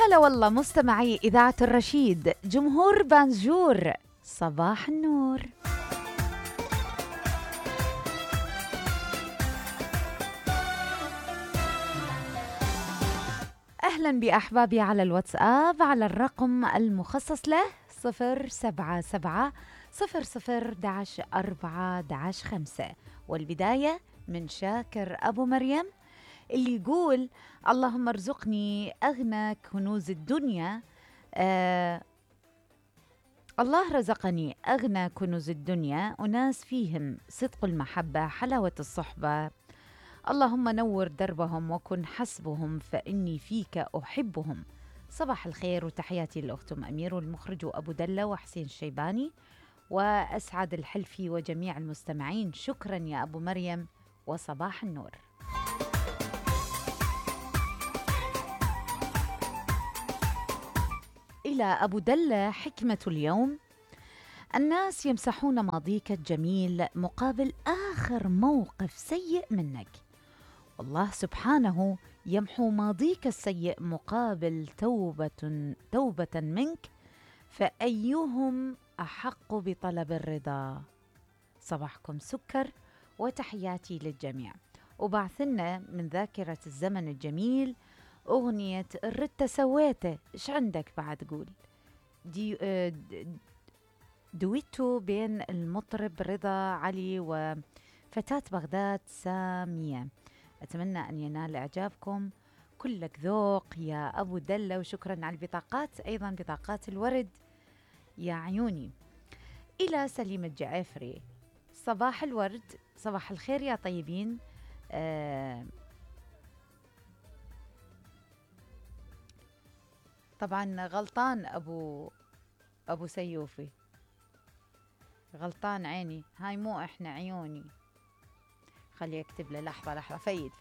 هلا والله مستمعي إذاعة الرشيد، جمهور بانجور، صباح النور. أهلا بأحبابي على الواتساب على الرقم المخصص له 077 00 11 4 5، والبداية من شاكر أبو مريم اللي يقول: اللهم ارزقني أغنى كنوز الدنيا. الله رزقني أغنى كنوز الدنيا، أناس فيهم صدق المحبة حلاوة الصحبة. اللهم نور دربهم وكن حسبهم فإني فيك أحبهم. صباح الخير وتحياتي للأخت أمير والمخرج وأبو دلة وحسين الشيباني وأسعد الحلفي وجميع المستمعين. شكرا يا أبو مريم وصباح النور. إلى أبو دلة حكمة اليوم: الناس يمسحون ماضيك الجميل مقابل آخر موقف سيء منك، والله سبحانه يمحو ماضيك السيء مقابل توبة منك، فأيهم أحق بطلب الرضا؟ صباحكم سكر وتحياتي للجميع. وبعثنا من ذاكرة الزمن الجميل أغنية الرت سويته. إيش عندك بعد؟ قول دويتو بين المطرب رضا علي وفتاة بغداد سامية. أتمنى أن ينال إعجابكم. كلك ذوق يا أبو دلة، وشكرا على البطاقات، أيضا بطاقات الورد يا عيوني. إلى سليم الجعفري: صباح الورد، صباح الخير يا طيبين. طبعا غلطان أبو سيوفي، غلطان عيني، هاي مو إحنا عيوني. خلي أكتب له لحظة. فيد